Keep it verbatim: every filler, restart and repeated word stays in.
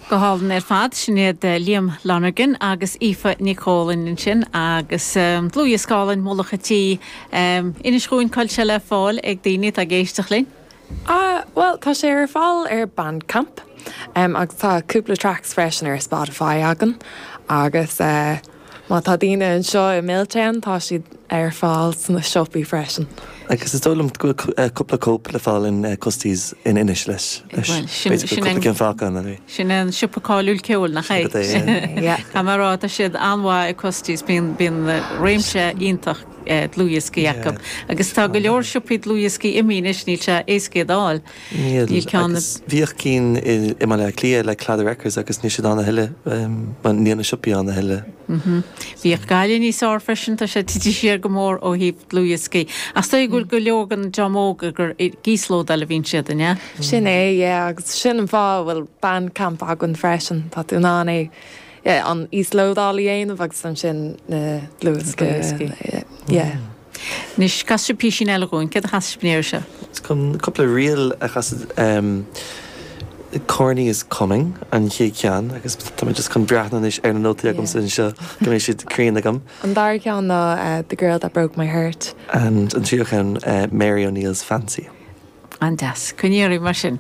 Go hálainn ar fad sin iad Liam Lonergan agus Aoife Nic Cólainn ansin agus um, dlúthdhiosca álainn Mullach an Tí um, inis dúinn cá bhfuil sé le fáil ag daoine atá ag éisteacht linn. Uh, well tá sé ar fáil ar Bandcamp um, agus tá cúpla tracks freisin ar Spotify againn agus uh, má tá daoine anseo i Milltown tá siad ar fáil sna siopaí freisin. Agus is dóigh liom go bhfuil cúpla cóip le fáil in Custies in Inis leis cinn fáca an Sin an siopa cáiliúil ceoil nach é Tá rá tá siad an-mhaith i Custies bíonn bíonn réimse iontach dlúthdhioscaí acu. Agus tá go leor siopaí dlúthdhioscaí imithe níl sé éasca fáil. Bhíodh cinn i mBaile Átha Cliath le Claddagh Records agus níl siad ann a thuilleadh níl na siopaí ann a thuilleadh. Bhíodh Gaillimh níos fearr freisin tá sé tite siar go mór ó thaobh dlúthdhioscaí. Ach tá go go leor an dream óg gur íoslódáil a bhíonn siad ne? Sin é agus sin an fáth bhfuil Bandcamp againn freisin Tá tú in ann é an íoslódáil a dhéanamh agus ansin na dlúthdhioscaí. Anois casfaidh sibh píosa eile dúinn, céard a chasfaidh sibh se? Chun cúpla ríl a chasadh Corny is coming an chéad cheann agus tá just chun breathnú anois ar na nótaí agam anseo go mbeidh siad cruinn agam. An dara ceann ná uh, The Girl That Broke My Heart. And an tríú ceann uh, Mary O'Neill's Fancy. An-deas, coinníorí mar sin.